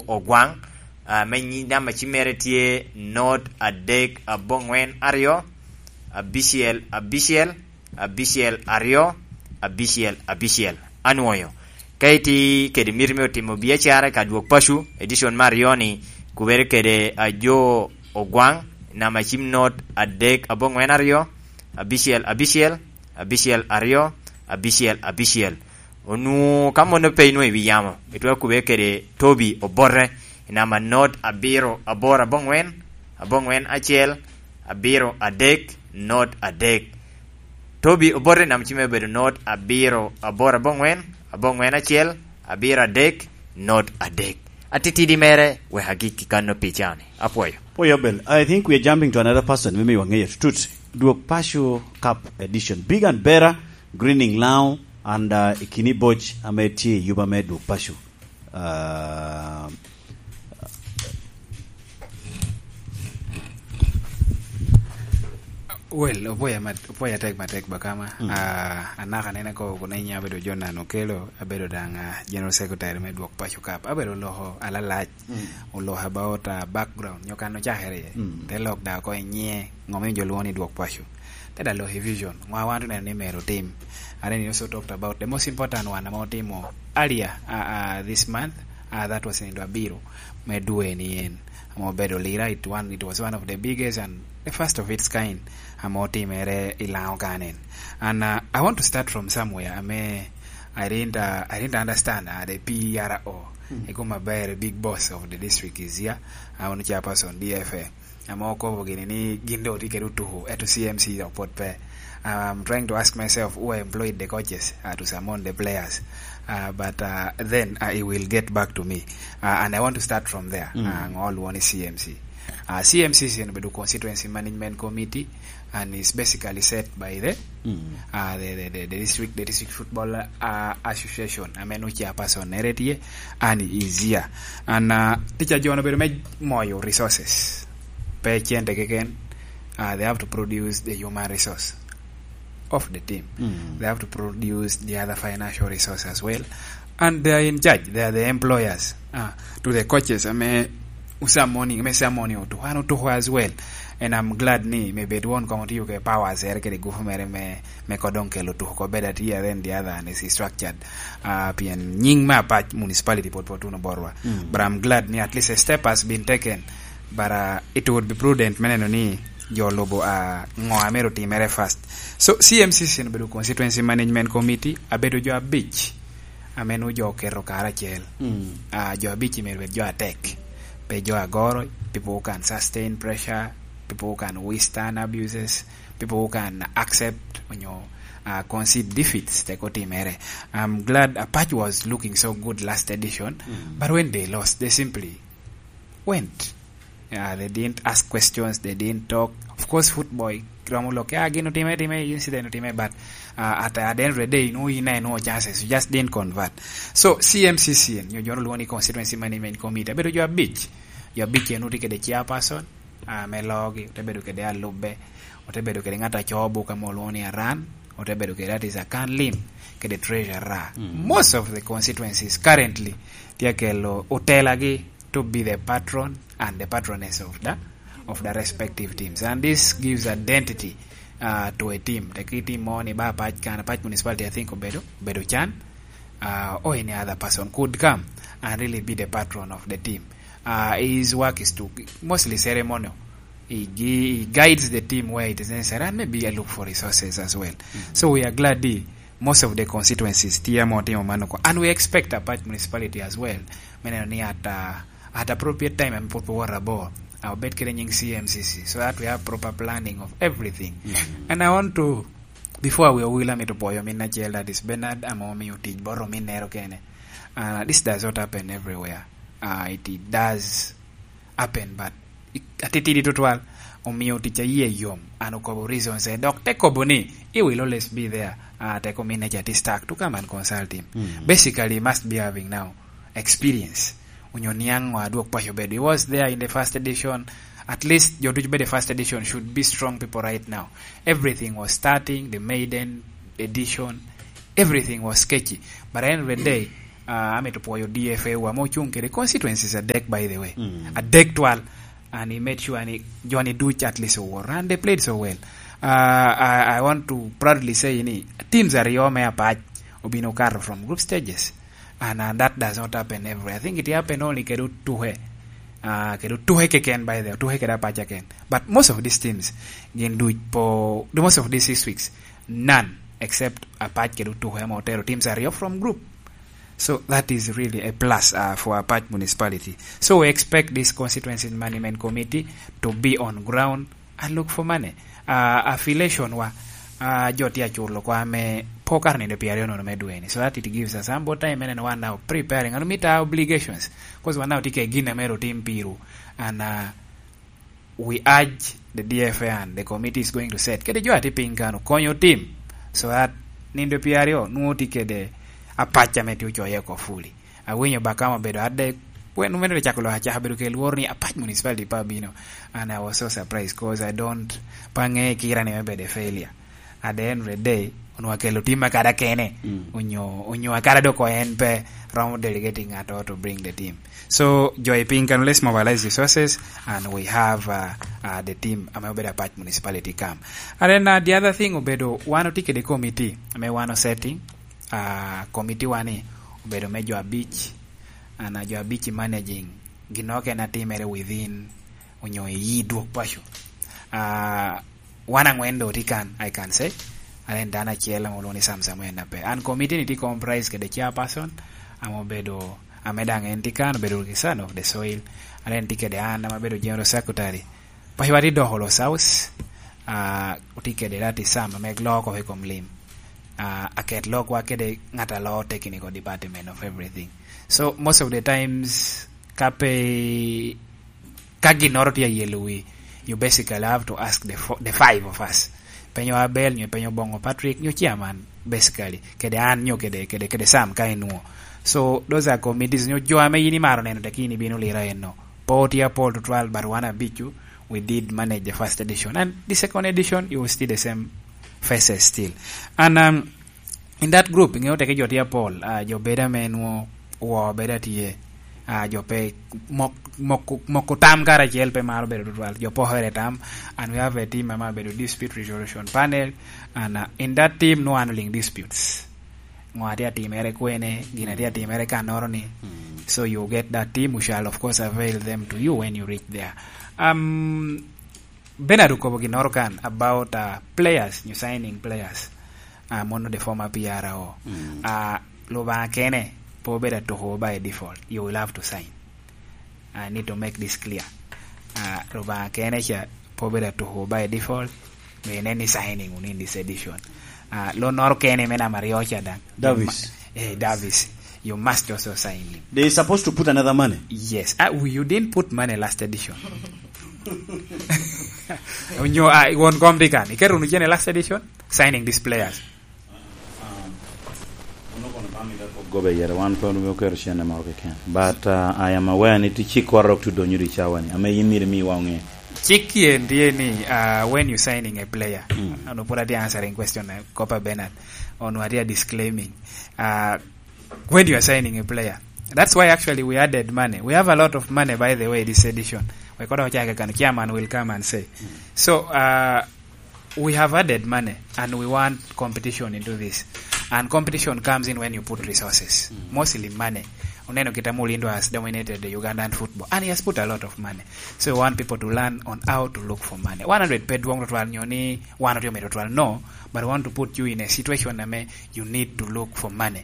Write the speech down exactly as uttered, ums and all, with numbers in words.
Ogwaŋ, ah, me nyi-, namba cim mere tye not adek aboŋwen aryo, abicel abicel, abicel aryo, abicel abicel. Anwoyo. Ka itye kede miti me otimo biacara i ka dwok paco, edition me aryo-ni, kubere kede Ajo Ogwaŋ, namba cim not adek aboŋwen aryo, abicel abicel, abicel aryo, abicel abicel. Onwoŋo ka mano pe inwoŋo i wi yamo, itwero kubere kede Tobi Obote, i namba not abiro aboro aboŋwen, aboŋwen acel, abiro adek, not adek. Tobi Obote, namba cim mere obedo not abiro aboro aboŋwen, aboŋwen acel, abiro adek, not adek. Atitidi mere wek agikki kanno pi cani. Apwoyo. Pwoyo Abel, I think we are jumping to another person, maybe we are tut. Dwok Paco Cup Edition. Big and better, grinning now, and, uh, i kini boc ame tye i yuba me Dwok Paco. Uh, Well, opoya mat-, opoya tek matek bakama. Mm. Ah, anaka nene ko kuna inya abedo Jonan Okelo, abedo dang, ah, General Secretary me Dwok Paco Cup. Abedo loko alalac, mm, oloko about, ah, background, nyo kan ocakere iye. Mm. Te lok da ko inye, ngo me jo lwongo ni Dwok Paco. Te da loko i vision, ngo a wan oneno ni mero otim. And then he also talked about the most important one ame otimo earlier, ah, ah, this month, ah, that was in Dwabiro, me dwe ni en. Ame obedo lira, it one, it was one of the biggest and the first of its kind ame otimere i Laŋo kanen. And, uh, I want to start from somewhere ame I didn't, uh, I didn't understand, uh, the P R O. Mm. Ego maber, big boss of the district is here. Uh, ono chairperson D F A. Ame okobo gini ni gin doŋ otye kede otuku, eto C M C dok pwod pe. I'm trying to ask myself who employed the coaches, uh, to summon the players. Uh, but, uh, then, uh, he will get back to me. Uh, and I want to start from there. Mm. Uh, ngo olwongo ni C M C. Uh, C M C is in obedo Constituency Management Committee and is basically set by the, mm, uh, the, the, the, the district, the district football, uh, association. Ame nu chairperson nere tye, and he is here. And, uh, teacher John obedo me moyo resources. Pe cente keken, uh, they have to produce the human resource of the team. Mm. They have to produce the other financial resource as well. And they are in charge. They are the employers, uh, to the coaches. Ame usa morning, ame sa morning otuku, an otuku as well. And I'm glad ni me bed won kong otiyo ke powers ere kede gufu mere me, me kodong kelo tuku ko bed atia, then the other one is structured. Uh, pien nying me Apac municipality pot pot uno borwa. Mm. But I'm glad ni at least a step has been taken. But, uh, it would be prudent me neno ni jo lubo, uh, ngo a myero otimere first. So, C M C C obedo Constituency Management Committee, abedo jo abic, ame nu jo oketo karacel. Mm. Uh, jo abic myero bed jo atek. Pe jo agoro, people who can sustain pressure, people who can withstand abuses, people who can accept, you know, uh, concede defeats, te ko timere. I'm glad Apac was looking so good last edition, mm, but when they lost, they simply went. Uh, they didn't ask questions, they didn't talk. Of course, football, romo lok, ah, gin otime, time, incident otime, but, uh, at, at the end of the day, you know, you know, no chances, you just didn't convert. So, C M C C, you know, Constituency Management Committee, abedo jo abic. Jo abic en otye kede chairperson, ah, me loogi, ote bedo kede alubbe, ote bedo kede ŋat a coo buk ame olwoŋo ni Aran, ote bedo kede artist Akan Lim, kede treasurer. Mm. Most of the constituencies currently tye kelo otelagi to be the patron and the patroness of the, of the respective teams. And this gives identity, uh, to a team. Te ki team mo ni ba Apac kan, Apac Municipality, I think, obedo, obedo can, uh, or any other person could come and really be the patron of the team. Uh, his work is to mostly ceremonial. He, gi-, he guides the team where it is necessary, and maybe I look for resources as well. Mm. So we are glad the, most of the constituencies tye ame otimo mano ko. And we expect Apac Municipality as well me neno ni at, uh, at appropriate time, ame pwod pe owoto abor, uh, obed kede nying C M C C, so that we have proper planning of everything. Mm. And I want to, before we will, amito pwoyo min acel, that is Bernard, ame omiyo tic bot ominnere kene. Uh, this does not happen everywhere. Uh, it, it does happen, but i-, atitidi tutwal, omiyo tic a yie yom. An okobo reasons, eh, dok te kobo ni, "He will always be there." Ah, te ko min nature is stuck to come and consult him. Mm. Basically, he must be having now experience. Onyo niaŋ ŋo adwok paco bedo. He was there in the first edition. At least, jo ducu bedo first edition should be strong people right now. Everything was starting, the maiden edition, everything was sketchy. But at the end of the day, Uh, amito pwoyo D F A wa ma ocuŋ kede constituencies adek, by the way. Mm. Adek twal. And he made sure ni Johnny Duch at least owor. And they played so well. Uh, I, I want to proudly say ni teams aryo me Apac obino kato from group stages. And, uh, that does not happen everywhere. I think it happened only kede Otuhe. Uh, kede Otuhe keken, by the way. Otuhe kede Apac keken. But most of these teams, gin duc po, the most of these six weeks, none except Apac kede Otuhe ame otero teams aryo from group. So that is really a plus, uh, for Apac Municipality. So we expect this constituency management committee to be on ground and look for money. Uh, affiliation wa, uh, jo tye aculo kwa me po kar nindo pyeraryo nono me dweni. So that it gives us ample time, and wan now preparing and meet our obligations. 'Cause wan now tye ke gin ame ru tim piru. And, uh, we urge the D F A and the committee is going to set. Kede jo ati piny kano, konyo tim. So that nindo pyeraryo nwoŋo tye kede Apac ame tye ocoye oko fully. Awinyo Bakam obedo adek, wen omeno cako lok acaka bedo ke lworo ni Apac Municipality pa bino. And I was so surprised 'cause I don't, pa ŋe kira ni me bedo a failure. At the end of the day, onwa kelo team akada kene, mm, onyo, onyo akada dok en pe romo delegating at all to bring the team. So, jo i piny can let's mobilize resources and we have, uh, uh, the team ame obedo Apac Municipality come. And then, uh, the other thing obedo, wan oti kede committee, ame wan o setting, uh, committee wani obedo me jo abic, and, uh, jo abic i managing, gin okene atimere within, onyo i yi dwok paco. Uh, wan angwen do tye kan, I can say. Alen dano acel ame olwongo ni Sam Samuel Nape. And committee ni tye comprised kede chairperson, ame obedo, ame daŋ en tye kan, obedo the son of the soil. Alen tye kede an, ame abedo general secretary. Paco wa tye doko lo South, ah, otye kede Lati Sam, ame loo oko i kom lim. Ah, aket lokwa kede ŋat a loo technical department of everything. So, most of the times, ka pe ka ginnoro tye ayelo wi, you basically have to ask the fo-, the five of us. Penyo Abel, nyo penyo Bongo Patrick, nyo chairman, basically. Kede an, nyo kede, kede, kede Sam ka enwo. So, those are committees, nyo jo ame yin imaro neno, tekini bino lira eno. Po tye apol tutwal, but wan abicu, we did manage the first edition. And the second edition, you will see the same faces still. And, um, in that group, ingeyo teke jo tye apol, ah, jo bedo ame nwo wo bedo atye, ah, jo pe mok-, moko, moko tam karacel pe maro bedo tutwal, jo pokere tam, and we have a team ame bedo dispute resolution panel, and, uh, in that team no handling disputes. Ngo atye atimere kwene, gin atye atimere kanoro ni. Mm. So you get that team, we shall of course avail them to you when you reach there. Um, Bernard okobo ginnoro kan about, uh, players, nyo signing players. Uh, mono the former P R O. Mm. Uh, Lubanga kene, po bedo atuko by default. You will have to sign. I need to make this clear. Uh, Lubanga kene cha, po bedo atuko by default. Mene ni signing within this edition. Uh, lo noro kene me namba aryo cha daŋ. Davis. Eh, Davis. You must also sign him. They supposed to put another money. Yes. Ah, we, you didn't put money last edition. Onyo, ah, won kom di kan. Iketo wunu cene last edition, signing these players. Gobe yere, wan pe oketo cene moro keken. But, uh, I am aware ni ti chik koro ok tudonyo di cawa ni. Ame yin miri mi wa ŋe. Chik yen tye ni, uh, when you signing a player, mm, ano put ati answering question, uh, Copper Bernard. On what you are disclaiming. Uh, when you are signing a player. That's why actually we added money. We have a lot of money, by the way, this edition. We could have checked, and chairman will come and say. Mm. So, uh, we have added money, and we want competition into this. And competition comes in when you put resources, mm, mostly money. Oneno kit ame Olindo has dominated the Ugandan football, and he has put a lot of money. So we want people to learn on how to look for money. One hundred pe dwong tutwal nyo ni one hundred medo tutwal, no, but we want to put you in a situation ame you need to look for money.